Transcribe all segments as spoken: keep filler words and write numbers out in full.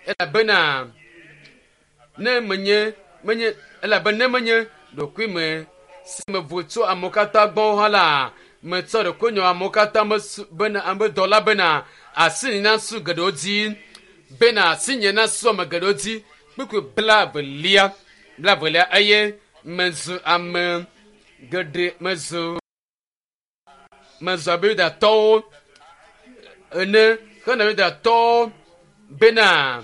Elabena ne menye menye elabe ne menye ɖokui me si mevo tso amewo katã gbɔ hã la metsɔ ɖokuinye amewo katã mesu bena ame dɔla bena asi nasu geɖewo dzi bena asinye nasu ame geɖewo dzi kpukpui blaevelia blaevelia eye mezu ame geɖe mezu mezu abe yudatɔwo ene hena yudatɔwo bena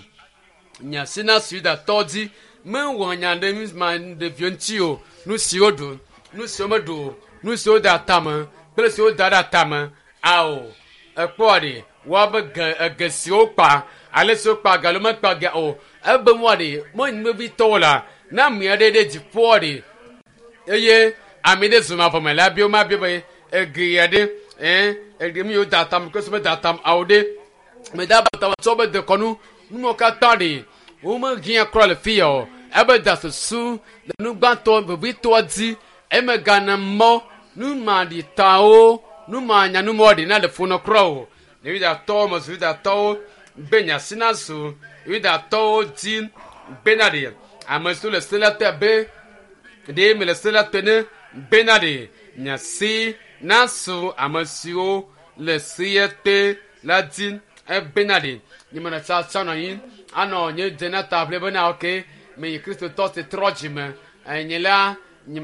nye asi nasu yudatɔwo dzi mewɔ nya ɖe nu ma ɖeviwo ŋuti o nu siwo ɖu nu siwo meɖu o nu siwo da atame kple siwo da ɖe atame ao ekpɔa ɖe woabe ge ege siwo kpa ale siwo kpa ga alo mekpa ga o ebe mua ɖe menyi vevitɔwo la ne ame aɖe ɖe dziƒoa ɖe eye ame ɖe zu mavɔ me la bio ma bio be ege ya ɖe ɛn ege mi yiwo da atame kple siwo meda atame awo ɖe meda be atame tsɔ be dekɔnu numawo katã ɖe womehiã kura le fi ya o ebe da susu le nu gbãtɔ vevitɔa dzi emegana mɔ numaɖitawo numanyanumɔ ɖi na le funɔ kura o ne yudatɔwo mezu yudatɔwo be nyasi nazu yudatɔwo dzi bena ɖe ame siwo le se la te be ɖe mele se la te ne bena ɖe nyasi nasu ame siwo le seya te la dzi ebena ɖe nyemena tsatsa nɔ anyi anɔ nye dze na ta ʋli bena ok meyi kristotɔ si trɔ dzime enye la nye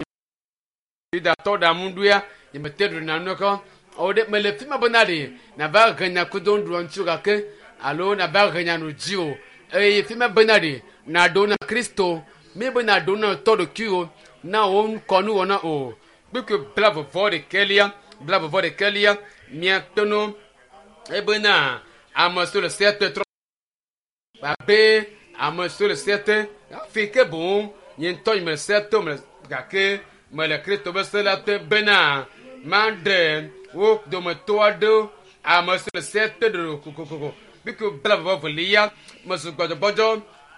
yudatɔ ɖaŋuɖoea nyemete ɖuna nu kɔ o ɖe mele fi ma bena ɖe nava he nya kudo nuɖuɖua ŋuti o gake alo nava he nya nu dzi o eye fi ma bena ɖe naɖo na kristo mi be naɖo na tɔ ɖokuiwo na wo ŋkɔnuwɔna o kpukpui blaeve vɔ ɖekɛlia blaeve vɔ ɖekɛlia miate nu ebena ame siwo le sea te trɔ abe ame siwo le sea te hafi ke boŋ nye ŋutɔ nye mele sea te o mele gake mele kristo be se la te bena maɖe wo dometɔ aɖewo ame siwo le sea te ɖo kokokoko kpukpui blaeve vɔ velia mezu gbɔdzɔgbɔdzɔ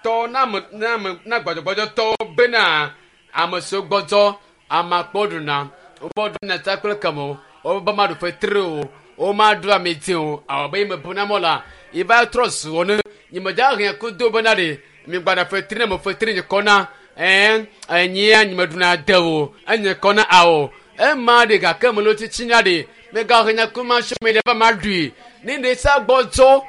tɔ na ame na ame na gbɔdzɔgbɔdzɔtɔwo bena ame siwo gbɔdzɔ amakpɔ ɖuna womeɖuna ta kple keme o wobe maɖu fetri o womaɖu ame dzi o awɔ be mebu na mɔ la yeva trɔ zu wo ne nyemedza hɛn kudo bena ɖe migbana fetri ne me fetri nye kɔna ɛn enyia nyemeɖuna de o enye kɔna awɔ ema ɖe gake melo tsitsinya ɖe mega hɛn ku ma sɔ mi ɖe va ma ɖui ne ɖe sa gbɔdzɔ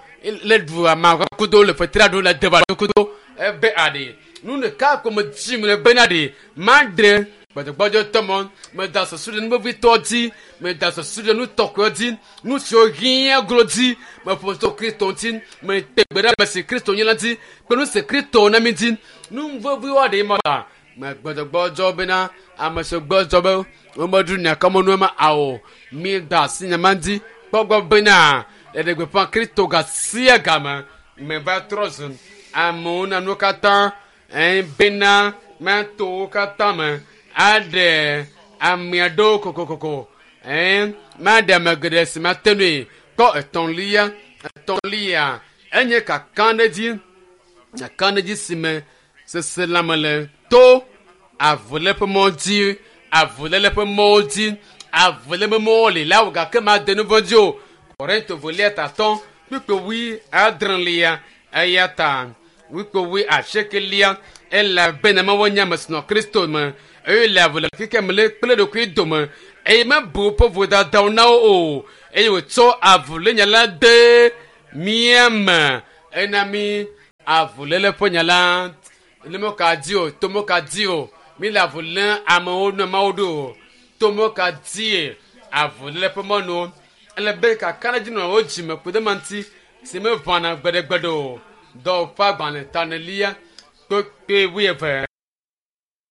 le ɖu ama kudo le fetria ɖu le deba kudo ebe aɖe nu ɖeka ko me dzi me le bena ɖe ma ɖe gbɔdzɔgbɔdzɔtɔ mɔ meda susu ɖe nuvevitɔ dzi meda susu ɖe nutɔkɔe dzi nu siwo hiã glo dzi meƒo tso kristo ŋuti mete gbe ɖe ame si kristo nye la dzi kple nu si kristo na mi dzi nu veviwo aɖe ma la me gbɔdzɔgbɔdzɔ bena ame siwo gbɔdzɔ be womeɖu nyakɔmɔnu ma awo mi da asi nyama dzi kpɔgbɔ bena eɖe gbeƒã kristo ga sia game meva trɔ zu amewo na nuwo katã ɛn bena mato wo katã me aɖe ame aɖewo kokokoko ɛn maɖe ame geɖe si mate nui kpɔ etɔ̃lia etɔ̃lia enye kakaɖedzi kakaɖedzi si me seselãme le to avuléƒe mɔ dzi avuléle ƒe mɔwo dzi avuléƒe mɔwo li la wò gake made nu vɔ̃ dzi o korinto velia tatɔ kpukpui wui adrelia eya ta kpukpui wui asiekelia elabena mewɔ nye ame si nɔ kristo me eye le avu le keke me le kple ɖokui dome eye mebu woƒe vodadawo na wo o eye wòtsɔ avulénya la de mía me ena mi avuléle ƒe nya la ne meka dzi o to meka dzi o mi le avu lém amewo ne mawo ɖo o to meka dzie avuléle ƒe mɔnu ele be kakaɖedzi nɔ wo dzime ku ɖe ma ŋuti si meʋãna gbeɖegbeɖe o dɔwɔƒe agbalẽ tanelia kpekpe wuieve.